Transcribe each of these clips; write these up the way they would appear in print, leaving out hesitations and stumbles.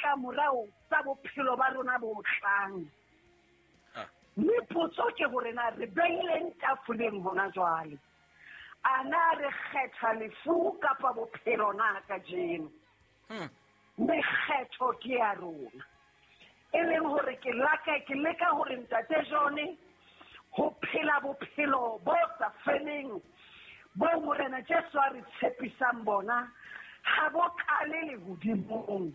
ditlamorao tsa bophelo ba rona bo tlang. Mme potso ke hore na re beileng tafoleng hona jwale. A na re kgetha lefu kapa bophelo na kajeno? Mme kgetho ke ya rona. E leng hore ke leka hore Ntate John ho phela bophelo bo sa feleng bo Morena Jesu a re tshepisang bona ha bo qale lehodimong,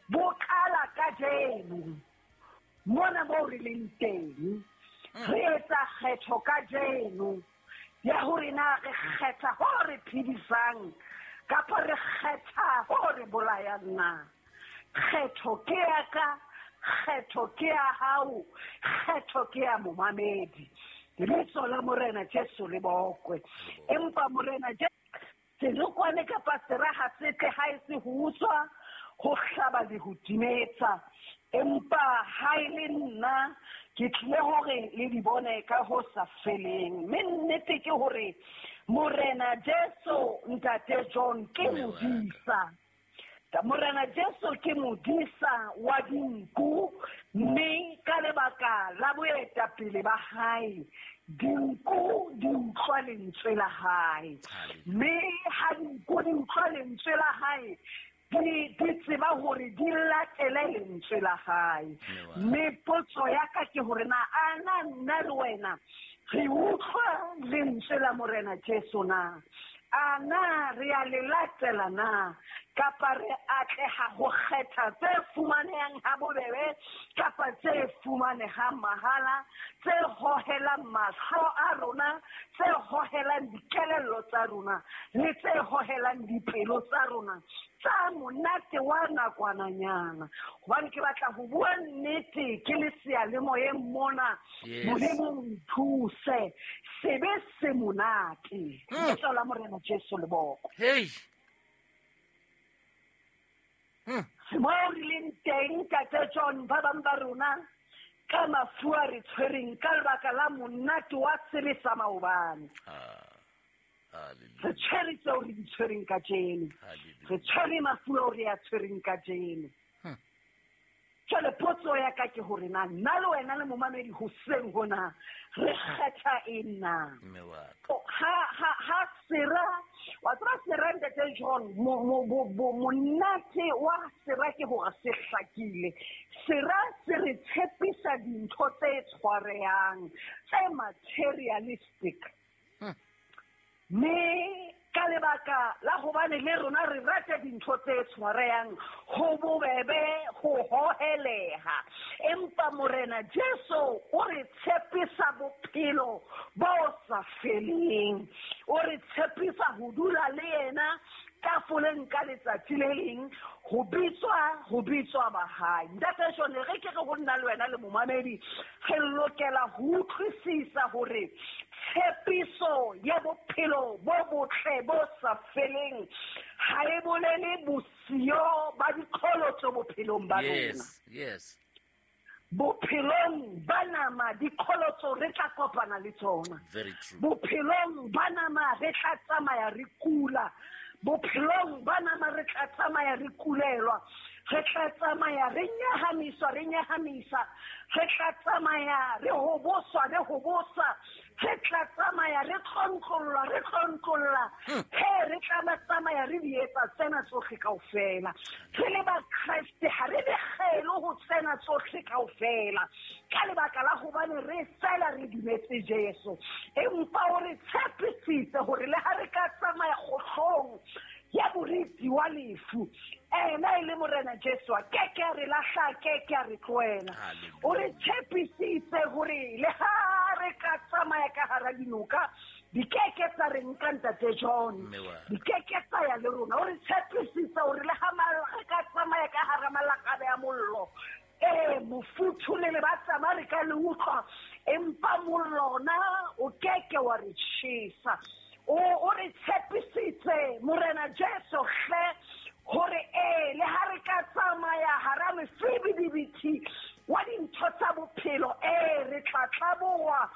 bo qala kajeno mona moo re leng teng. Re etsa kgetho kajeno ya hore na re kgetha ho re phedisang kapa re kgetha ho re bolayang na. Kgetho ke ya ka, kgetho ke ya hao, kgetho ke ya momamedi. Lebitso la Morena Jesu le bokwe. Empa Morena Jesu senokwane kapa sera ha se tle ha e se ho utswa, ho hlaba le ho timetsa. Empa ha e le nna ke tlile hore le di bone ka ho sa feleng. Mme nnete ke hore Morena Jesu Ntate John ke modisa. Morena Jesu ke modisa wa dinku, mme ka lebaka la boetapele ba hae dinku di utlwa lentswe la hae. Mme ha dinku di utlwa lentswe la hae, di tseba hore di latele lentswe la hae. Mme potso ya ka ke hore na a na nna le wena re utlwa lentswe la Morena Jesu na? A na re a le latela na? Kapa re atleha ho kgetha tse fumanehang ha bobebe kapa tse fumanehang mahala, tse hohelang mahlo a rona, tse hohelang dikelello tsa rona le tse hohelang dipelo tsa rona tsa monate wa nakwananyana. Hobane ke batla ho bua nnete ke le seyalemoyeng mona. Modimo nthuse, sebe se monate. Lebitso la Morena Jesu le bokwe. Hey. Mo re leng teng Ntate John, ba bang ba rona ka mafu a re tshwereng ka lebaka la monate wa sebe sa maobane. Re tshwere tseo re di tshwereng kajeno. Re tshwere mafu ao re a tshwereng kajeno. Jwale potso ya ka ke hore na nna le wena le momamedi hoseng hona re kgetha eng na? Ha sera, wa tseba sera Ntate John, monate wa sera ke hore se hlakile. Sera se re tshepisa dintho tse tshwarehang, tse materialistic. Mme ka lebaka la hobane le rona re rata dintho tse tshwarehang, ho bobebe ho hoheleha. Empa Morena Jesu o re tshepisa bophelo bo sa feleng. O re tshepisa ho dula le yena tafoleng ka letsatsi le leng, ho bitswa ba hae. Ntate John, re ke re ho nna le wena le momamedi, re lokela ho utlwisisa hore tshepiso ya bophelo bo botle bo sa feleng ha e bolele bosiyo ba diqholotso bophelong ba rona. Yes, yes. Bophelong ba nama diqholotso re tla kopana le tsona. Very true. Bophelong ba nama re tla tsamaya re kula. Bophelong ba nama re tla tsamaya re kulelwa. Re tla tsamaya re nyahamiswa, re nyahamisa. Re tla tsamaya re hoboswa, re hobosa. Re tla tsamaya re tlontlolwa, re tlontlolla. He, re tla tsamaya re di etsa tsena tsohle kaofela. Re le ba Kreste ha re bekgele ho tsena tsohle kaofela. Ka lebaka la hobane re fela re dumetse Jesu. Empa o re tshepisitse hore le ha re ka tsamaya kgohlong ya moriti wa lefu, ena e le Morena Jesu a keke a re lahla, a keke a re tlohela. O re tshepisitse hore le ha re ka tsamaya ka hara dinoka, di keke tsa re nka Ntate John, di keke tsa ya le rona. O re tshepisitse hore le ha re ka tsamaya ka hara malakabe a mollo, mofuthu le le ba tsamaya re ka le utlwa, empa mollo ona o keke wa re tjhesa. O re tshepisitse Morena Jesu hle hore le ha re ka tsamaya hara mefibidibiti wa dintho tsa bophelo, re tla tlaboha,